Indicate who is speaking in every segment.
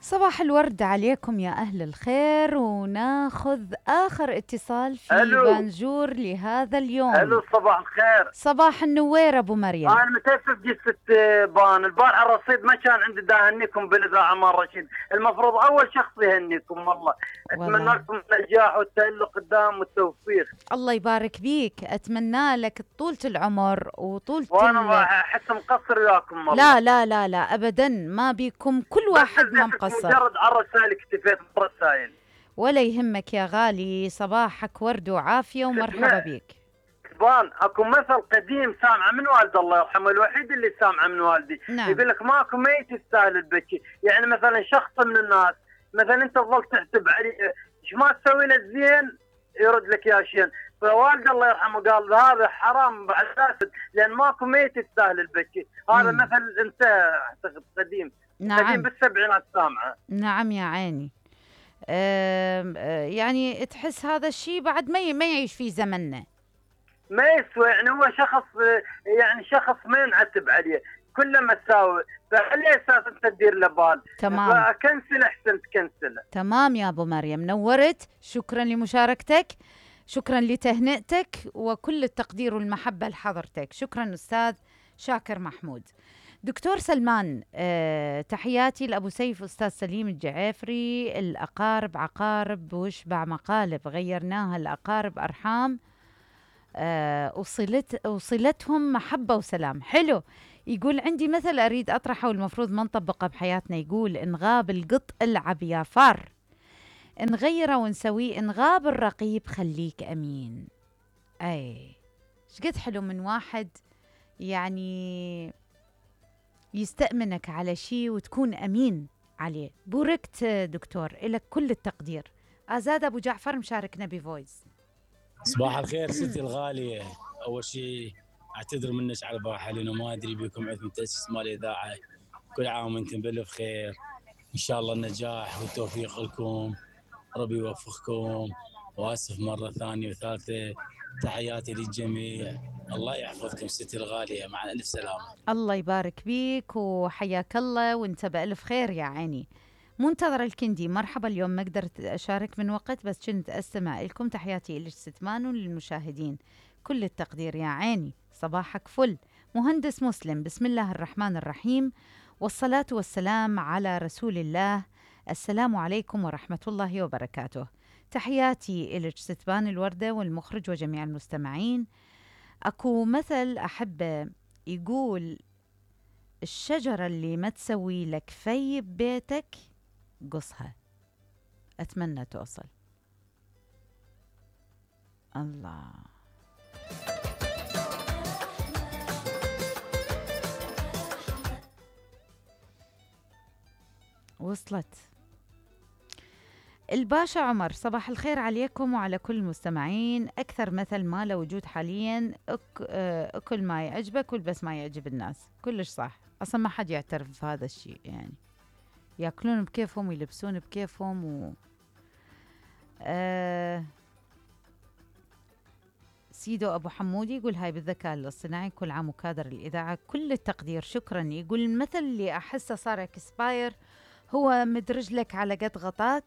Speaker 1: صباح الورد عليكم يا أهل الخير، وناخذ آخر اتصال في بانجور لهذا اليوم.
Speaker 2: الو صباح الخير.
Speaker 1: صباح النوير أبو مريم.
Speaker 2: أنا متأسف جلسة بان البارحة الرصيد ما كان عندي دا أهنيكم بالإذاعة مال رشيد، المفروض أول شخص يهنيكم والله. أتمنى لكم النجاح والتألق قدام والتوفيق.
Speaker 1: الله يبارك بيك، أتمنى لك طولة العمر وطولة
Speaker 2: وأنا أحس مقصر وياكم والله.
Speaker 1: لا لا لا لا أبدا، ما بيكم كل واحد ما مقصر.
Speaker 2: مجرد على الرسائل اكتفيت بالرسائل.
Speaker 1: ولا يهمك يا غالي، صباحك ورد وعافية ومرحبا بيك.
Speaker 2: بان اكو مثل قديم سامعه من والد الله يرحمه، الوحيد اللي سامعه من والدي.
Speaker 1: نعم.
Speaker 2: يقول لك ماكو ميت يستاهل البكي. يعني مثلا شخص من الناس مثلا انت تظل تحسب عليه ايش ما تسوي له زين يرد لك يا شين، فوالد الله يرحمه قال هذا حرام بعد اسد لان ماكو ميت يستاهل البكي. هذا مثل انتهى اعتقد قديم.
Speaker 1: نعم.
Speaker 2: قديم بالسبعينات سامعه.
Speaker 1: نعم يا عيني. يعني تحس هذا الشيء بعد ما يعيش في زمننا،
Speaker 2: ما يسوى. يعني هو شخص ما ينعتب عليه، كله مساوي، فعلى اساس انت تدير له بال.
Speaker 1: تمام.
Speaker 2: فكنسل احسن تكنسله.
Speaker 1: تمام يا ابو مريم، نورت. شكرا لمشاركتك، شكرا لتهنئتك، وكل التقدير والمحبه لحضرتك. شكرا استاذ شاكر محمود. دكتور سلمان، تحياتي لأبو سيف أستاذ سليم الجعافري. الأقارب عقارب وشبع مقالب، غيرناها الأقارب أرحام، وصلتهم محبة وسلام. حلو. يقول عندي مثل أريد أطرحه والمفروض ما نطبقه بحياتنا. يقول إن غاب القط العب يا فار، نغيره ونسويه. إن غاب الرقيب خليك أمين. أي شقد حلو من واحد يعني يستأمنك على شيء وتكون أمين عليه. بوركت دكتور، إلك كل التقدير. آزاد أبو جعفر مشاركنا بفويس.
Speaker 3: صباح الخير ستي الغالية. أول شيء أعتذر منك على البارحة لأنه ما أدري بكم عندكم تأسيس مال الإذاعة. كل عام وأنتم بألف خير، إن شاء الله النجاح والتوفيق لكم، ربي يوفقكم. وآسف مرة ثانية وثالثة، تحياتي للجميع، الله يحفظكم ستي الغالية، مع ألف سلامة.
Speaker 1: الله يبارك بيك وحياك الله وانت بألف خير يا عيني. منتظر الكندي، مرحبا. اليوم ما قدرت أشارك من وقت، بس كنت أستمع لكم. تحياتي إلك ستمان وللمشاهدين كل التقدير يا عيني. صباحك فل. مهندس مسلم، بسم الله الرحمن الرحيم والصلاة والسلام على رسول الله. السلام عليكم ورحمة الله وبركاته. تحياتي إلك ستبان الوردة والمخرج وجميع المستمعين. أكو مثل أحبه يقول الشجرة اللي ما تسوي لك في ببيتك قصها. أتمنى توصل. الله. وصلت. الباشا عمر، صباح الخير عليكم وعلى كل المستمعين. أكثر مثل ما له وجود حاليا، أكل ما يعجبك والبس ما يعجب الناس. كلش صح، أصلا ما حد يعترف بهذا الشيء. يعني يأكلون بكيفهم ويلبسون بكيفهم سيدو أبو حمودي يقول هاي بالذكاء الاصطناعي، كل عام وكادر الإذاعة كل التقدير. شكرا. يقول المثل اللي أحسه صار اكسباير هو مدرج لك على قد غطاك،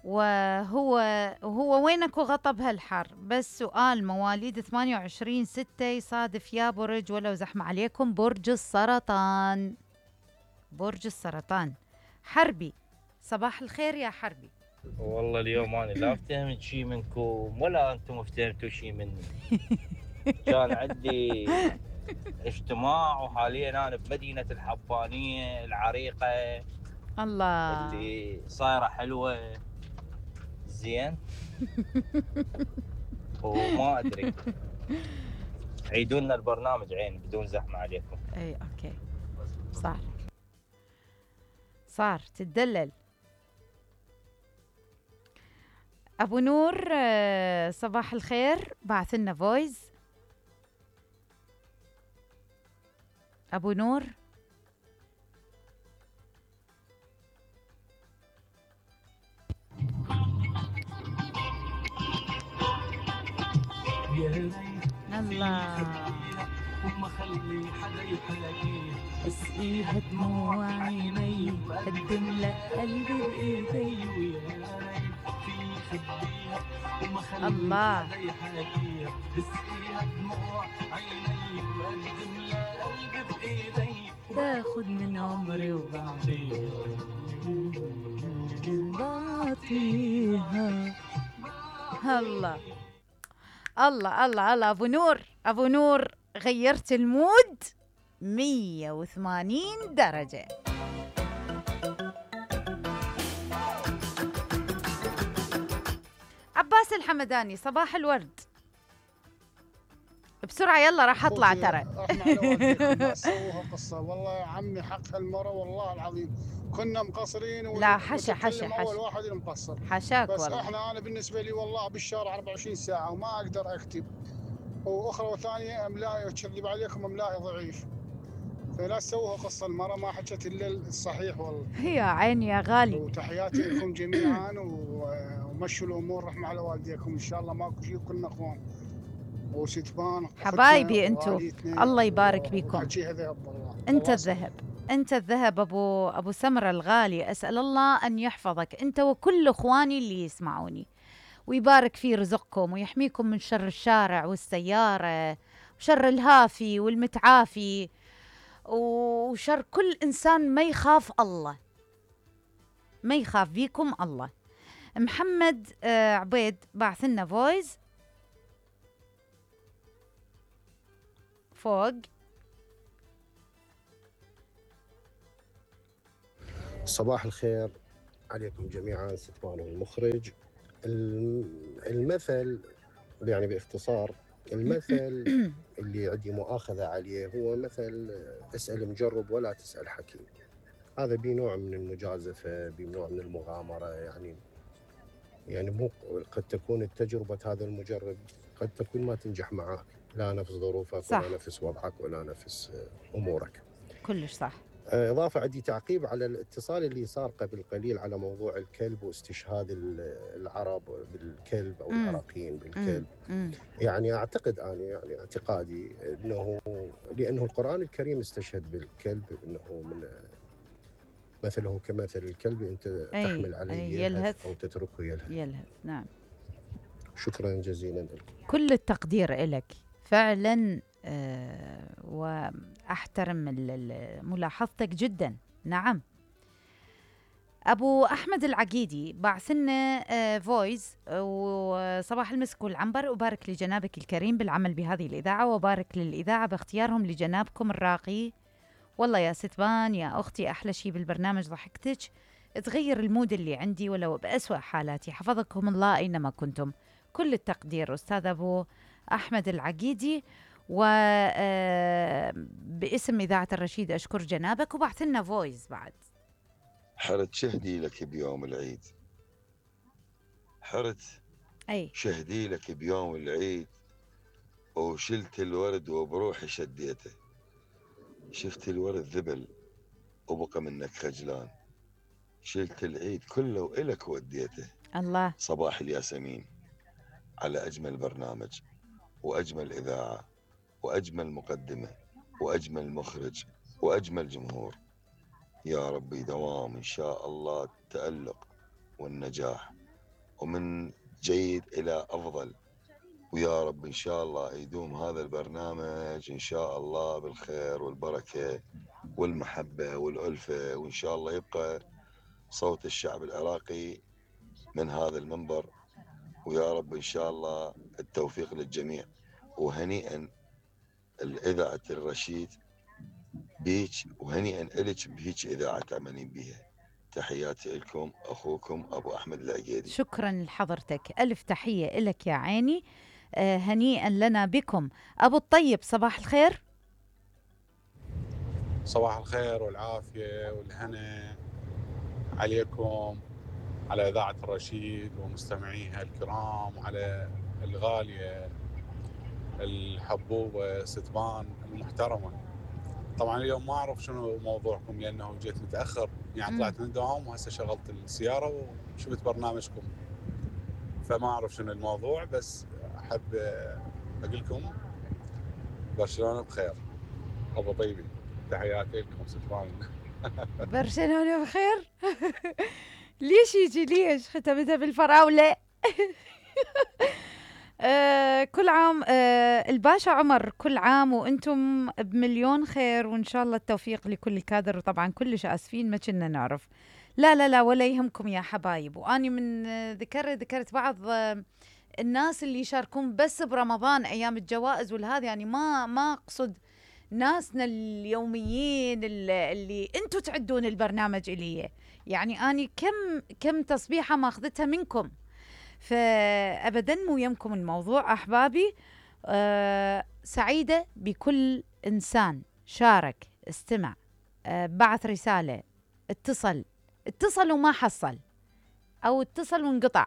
Speaker 1: وهو وينك وغطى بهالحر. بس سؤال، مواليد 28/6 يصادف يا برج ولو زحمة عليكم؟ برج السرطان. برج السرطان. حربي، صباح الخير يا حربي.
Speaker 4: والله اليوم أنا لا افتهمت شيء منكم ولا أنتم افتهمتوا شيء مني. كان عندي اجتماع وحاليا أنا بمدينة الحبانية العريقة
Speaker 1: الله
Speaker 4: اللي صايرة حلوة زين. وما أدري، عيدوا لنا البرنامج عين بدون زحمة عليكم.
Speaker 1: أي أوكي، صار تتدلل. أبو نور، صباح الخير، بعث لنا فويس. أبو نور. الله
Speaker 5: وما خلي حدا يحلقيه،
Speaker 1: اسقيها دموع عيني، قدم لها قلبي بإيدي. الله. تاخد من عمري بعطيها. الله الله الله الله. ابو نور، ابو نور، غيرت المود 180 درجة. عباس الحمداني، صباح الورد. بسرعة يلا راح اطلع ترى.
Speaker 5: احنا على والديكم ما سووها قصة، والله يا عمي حق هالمرة والله العظيم كنا مقصرين.
Speaker 1: لا حشا حشا
Speaker 5: اول
Speaker 1: حشا
Speaker 5: واحد اللي مقصر.
Speaker 1: حشاك
Speaker 5: بس
Speaker 1: والله.
Speaker 5: انا بالنسبة لي والله بالشارع 24 ساعة وما اقدر اكتب، واخرى ثانية املائي اكذب عليكم املائي ضعيف، فلا تسووها قصة. المرة ما حكت الا الصحيح والله.
Speaker 1: يا عيني يا غالي.
Speaker 5: وتحياتي لكم جميعا، ومشوا الامور رحمة على والديكم ان شاء الله، ماكو شيء كلنا اخوان وستبان
Speaker 1: حبايبي انتو، الله يبارك بيكم. انت الذهب، انت الذهب ابو سمرة الغالي. اسال الله ان يحفظك انت وكل اخواني اللي يسمعوني، ويبارك في رزقكم ويحميكم من شر الشارع والسيارة وشر الهافي والمتعافي وشر كل انسان ما يخاف الله، ما يخاف بيكم الله. محمد عبيد بعث لنا فويس فوق.
Speaker 6: صباح الخير عليكم جميعا، ستمان المخرج. المثل يعني باختصار، المثل اللي عندي مؤاخذة عليه هو مثل اسأل مجرب ولا تسأل حكيم. هذا بنوع من المجازفة، بنوع من المغامرة، يعني مو قد تكون التجربة هذا المجرب قد تكون ما تنجح معك، لا نفس ظروفك
Speaker 1: صح.
Speaker 6: ولا نفس وضعك ولا نفس أمورك.
Speaker 1: كلش صح.
Speaker 6: إضافة عندي تعقيب على الاتصال اللي صار قبل قليل على موضوع الكلب واستشهاد العرب بالكلب أو العراقيين بالكلب. يعني أعتقد أنا، يعني اعتقادي أنه لأنه القرآن الكريم استشهد بالكلب، أنه من مثله كمثل الكلب، أنت تحمل عليه يلهث أو تتركه يلهث.
Speaker 1: نعم.
Speaker 6: شكرا جزيلا لكم.
Speaker 1: كل التقدير لك فعلا، وأحترم ملاحظتك جدا. نعم. أبو أحمد العقيدي بعثنا فويس، وصباح المسك والعنبر، وبارك لجنابك الكريم بالعمل بهذه الإذاعة، وبارك للإذاعة باختيارهم لجنابكم الراقي. والله يا ستبان يا أختي، أحلى شيء بالبرنامج ضحكتك، تغير المود اللي عندي ولو بأسوأ حالاتي. حفظكم الله أينما كنتم. كل التقدير أستاذ أبو أحمد العقيدي، وباسم إذاعة الرشيد أشكر جنابك. وبعث لنا فويس بعد.
Speaker 7: حرت شهدي لك بيوم العيد، حرت شهدي لك بيوم العيد، وشلت الورد وبروحي شديته، شفت الورد ذبل وبقى منك خجلان، شلت العيد كله وإلك وديته.
Speaker 1: الله.
Speaker 7: صباح الياسمين على أجمل برنامج وأجمل إذاعة وأجمل مقدمة وأجمل مخرج وأجمل جمهور. يا ربي دوام إن شاء الله التألق والنجاح، ومن جيد إلى أفضل، ويا رب إن شاء الله يدوم هذا البرنامج إن شاء الله بالخير والبركة والمحبة والألفة، وإن شاء الله يبقى صوت الشعب العراقي من هذا المنبر، ويا رب إن شاء الله التوفيق للجميع. وهنيئا الإذاعة الرشيد بيك، وهنيئا إلك بهيك إذاعة تعملين بيها. تحياتي لكم، أخوكم أبو أحمد العقيدي.
Speaker 1: شكرا لحضرتك، ألف تحية لك يا عيني. هنيئا لنا بكم. أبو الطيب صباح الخير.
Speaker 8: صباح الخير والعافية والهنا عليكم، على إذاعة الرشيد ومستمعيها الكرام، وعلى الغالية الحبوبة ستبان المحترمة. طبعا اليوم ما أعرف شنو موضوعكم لأنه جيت متأخر، يعني طلعت من الدوام وهسه شغلت السيارة وشفت برنامجكم، فما أعرف شنو الموضوع، بس أحب أقول لكم برشلونة بخير. أبو طيبي تحياتي لكم ستبان
Speaker 1: برشلونة بخير. ليش يجي ليش ختمتها بالفراولة؟ كل عام الباشا عمر، كل عام وانتم بمليون خير، وان شاء الله التوفيق لكل الكادر. وطبعا كلش اسفين ما كنا نعرف. لا لا لا ولا يهمكم يا حبايب. واني من ذكرت بعض الناس اللي يشاركون بس برمضان ايام الجوائز والهذا، يعني ما اقصد ناسنا اليوميين اللي انتم تعدون البرنامج الي. يعني اني كم تصبيحه ماخذتها منكم، فابدا مو يمكم الموضوع احبابي. سعيده بكل انسان شارك، استمع، بعث رساله، اتصل وما حصل، او اتصل وانقطع،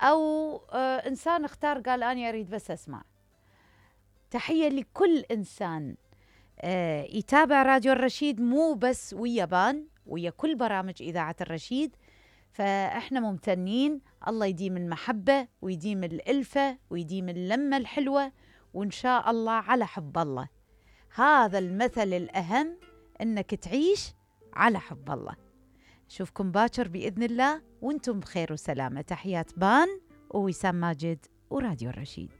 Speaker 1: او انسان اختار قال اني اريد بس اسمع. تحيه لكل انسان يتابع راديو الرشيد، مو بس ويا بان، ويا كل برامج اذاعه الرشيد. فاحنا ممتنين. الله يديم المحبه ويديم الالفه ويديم اللمه الحلوه، وان شاء الله على حب الله. هذا المثل الاهم، انك تعيش على حب الله. اشوفكم باكر باذن الله وانتم بخير وسلامه. تحيات بان ووسام ماجد وراديو الرشيد.